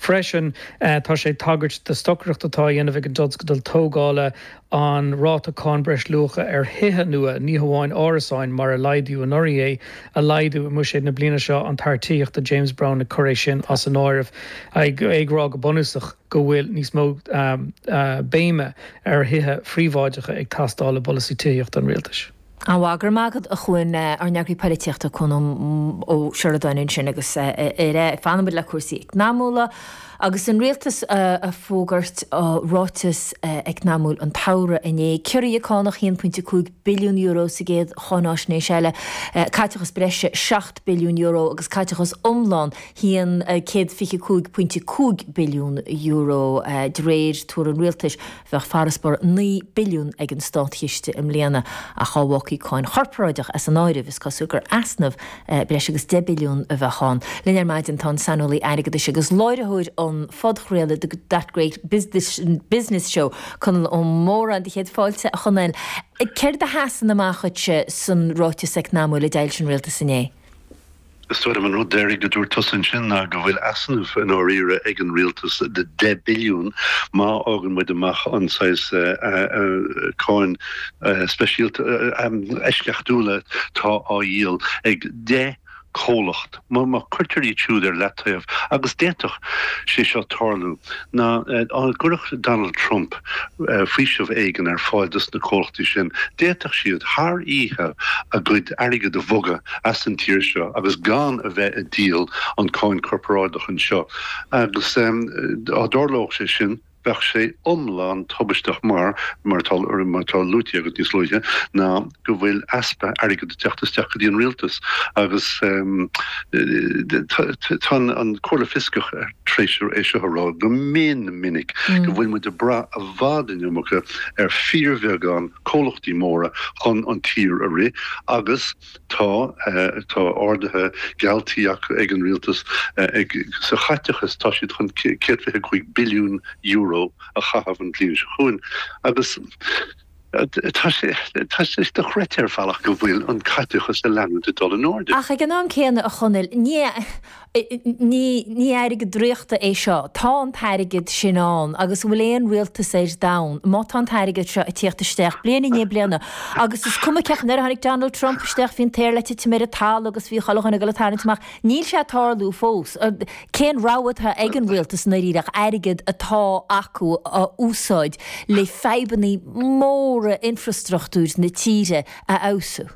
Freisin, tá sé ag tagairt do stocaireacht atá á dhéanamh ag an dtionscadal tógála an ráta cáin breisluacha ar thithe nua, ní hamháin árasáin, mar a laghdaíodh anuraidh é, a laghdú i mbuiséad na bliana seo, an tAire Tithíochta James Browne ag cur é sin as an áireamh, é ag rá go bunúsach go bhfuil níos mó béime ar thithe phríobháideacha ag teastáil i bpolasaí tithíochta an rialtais. An-mhaith, go raibh maith agat a Chuain, ár n-eagraí poilitíochta Cuan Ó Seireadáin ansin agus ar fanfaidh muid le cúrsaí eacnamúla agus an rialtas ag fógairt ráiteas eacnamúil an tsamhraidh inné. Ciorruithe cánach €1.5 billiún sa gcéad cháináisnéis eile, caiteachas breise €7 billiún agus caiteachas iomlán €125.5 billiún de réir tuar an rialtais. Bheadh farasbarr 9 billiún ag an státchiste i mbliana, ach dá bhfágfaí cáin chorparáideach as an áireamh, is cosúil gur easnamh breis agus 10 billiún a bheadh ann. Linn ar maidin tá an saineolaí airgeadais agus láithreoir an phodchraolta The That Great Business Show, Conall Ó Móráin. Do chéad fáilte, a Chonaill. Céard a sheasann amach dhuitse san ráiteas eacnamúil a d'fhoilsigh an rialtas inné? Is dóigh liom an rud deiridh a dúirt tusa ansin ná go bhfuil easnamh i ndáiríre ag an rialtas de 10 billiún má fhágann muid amach an saghas cáin speisialta eisceachtúla atá á dhíol ag 10 comhlacht. Má cuirtear iad siúd ar leataobh, agus d'fhéadfadh sé seo tarlú, ná dá gcuirfeadh Donald Trump faoiseamh éigin ar fáil dos na comhlachtaí sin, d'fhéadfadh siad thar oíche a gcuid airgid a bhogadh as an tír seo agus gan a bheith ag díol an cáin corparáideach anseo. Agus dá dtarlódh sé sin, bheadh sé iomlán tubaisteach mar, mar atá, mar atá luaite agat níos luaithe, ná go bhfuil easpa airgid ag teacht isteach go dtí an rialtas agus tá an Comhairle Fioscach tar éis é seo a rá go mion minic go bhfuil muid ag brath i bhfad an iomarca ar fíorbheagán comhlachtaí móra chun an tír a rith agus Tá, tá arduithe gealltaí acu ag an rialtas ag, sa chaiteachas, tá siad chun €125 billiún a chaitheamh an bhliain seo chugainn agus tá sé, tá sé dochreidte ar bhealach go bhfuil an caiteachas ag leanúint ag dul in airde. Ach ag an am céanna, a Chonaill, ní, Ní airgead draíochta é seo. Tá an t-airgead sin ann agus an bhfuil aon rialtas ar domhan, má tá an t-airgead seo ag tíocht isteach bliain i ndiaidh bliana agus is cuma cén chaoi, nuair a tháinig Donald Trump isteach bhí an t-aer le titim ar an talamh agus bhí chuile dhuine ag dul ag tarraingt amach. Níl sé ag tarlú fós. Cén rogha atá ag an rialtas i ndáiríre ach airgead atá acu a úsáid le fadhbanna móra infreastruchtúir na tíre a fheabhsú?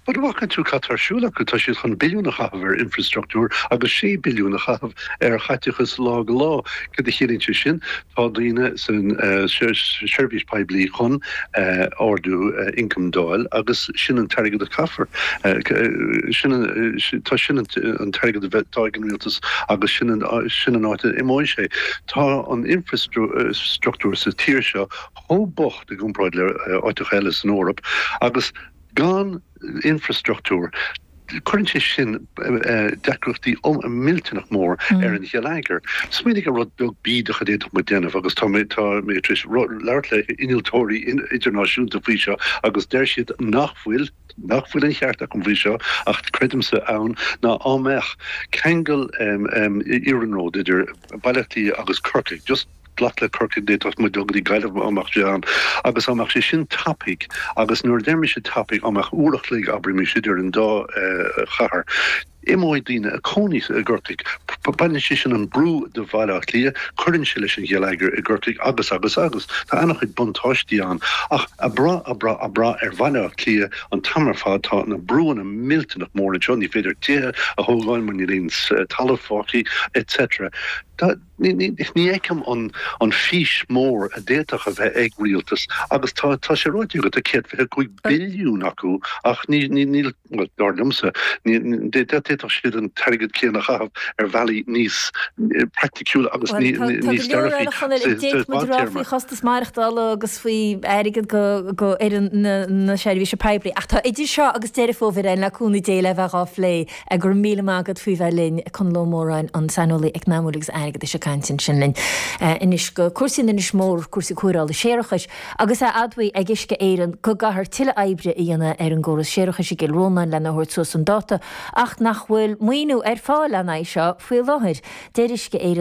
An bhfaca tú cad tá ar siúl acu? Tá siad chun billiún a chaitheamh ar infreastruchtúr agus sé billiún a chaitheamh ar chaiteachas lá go lá. Cad a chiallaíonn sé sin? Tá daoine san seirbhís poiblí chun ardú ioncaim d'fháil agus sin an t-airgead a chaithfear. Sin tá sin an t-airgead atá ag an rialtas agus sin an áit a imeoidh sé. Tá an infreastruchtúr sa tír seo chomh bocht i gcomparáid le áiteacha eile san Eoraip agus gan infreastruchtúr, cuireann sé sin deacrachtaí millteanach mór ar an gheilleagar. Smaoinigh ar rud beag bídeach a d'fhéadfadh muid déanamh agus tá mé tá mé tar éis labhairt le innealtóirí idirnáisiúnta faoi seo agus deir siad nach bhfuil nach bhfuil an cheart acu faoi seo ach creidimse ann ná dá mbeadh ceangal iarnróid idir Baile Átha Cliath agus Corcaigh just glac le Corcaigh, d'fhéadfadh muid dul go dtí Gaillimh dá mbeadh sé ann agus dá mbeadh sé sin tapaidh agus nuair a deir mise tapaidh dá mbeadh uair a chloig abraimis idir an dá chathair, imeoidh daoine a cónaí i gCorcaigh. Baineann sé sin an brú de Bhaile Átha Cliath, cuireann sé leis an gheilleagar i gCorcaigh agus agus agus. Tá an-chuid buntáistí ann ach a' brath, a' brath, a' brath ar Bhaile Átha Cliath an t-am ar fad, tá na brúanna millteanach mór anseo, ní féidir tithe a thógáil mar níl aon talamh fágtha etc. Tá. Ní fheicim an fís mór a d'fhéadfadh a bheith ag rialtas agus tá tá sé ráite agat, tá 125 billiún acu ach ní níl, bhuel, dar liomsa, d'fhéadfadh siad an t-airgead céanna a chaitheamh ar bhealaí níos praiticiúla agus níos dearfaí sa Tá go leor eile, a Chonaill, a d'fhéadfadh muid a rá faoi chostas maireachtála agus faoi airgead go fhoireann na seirbhíse poiblí ach tá idir seo agus Deireadh Fómhair ann le cúnamh Dé le bheith dhá phlé. Go raibh míle maith agat faoi bheith linn, Conall Ó Móráin, an saineolaí eacnamúil agus airgeadais ag caint ansin linn anois go cúrsaí in Inis Mór, cúrsaí cóireála séarachais, agus é admhaithe ag Uisce Éireann go gcaithfear tuilleadh oibre a dhéanamh ar an gcóras séarachais i gCill Rónáin lena thabhairt suas chun dáta ach nach bhfuil maoiniú ar fáil lena aghaidh seo faoi láthair. Deir Uisce Éireann.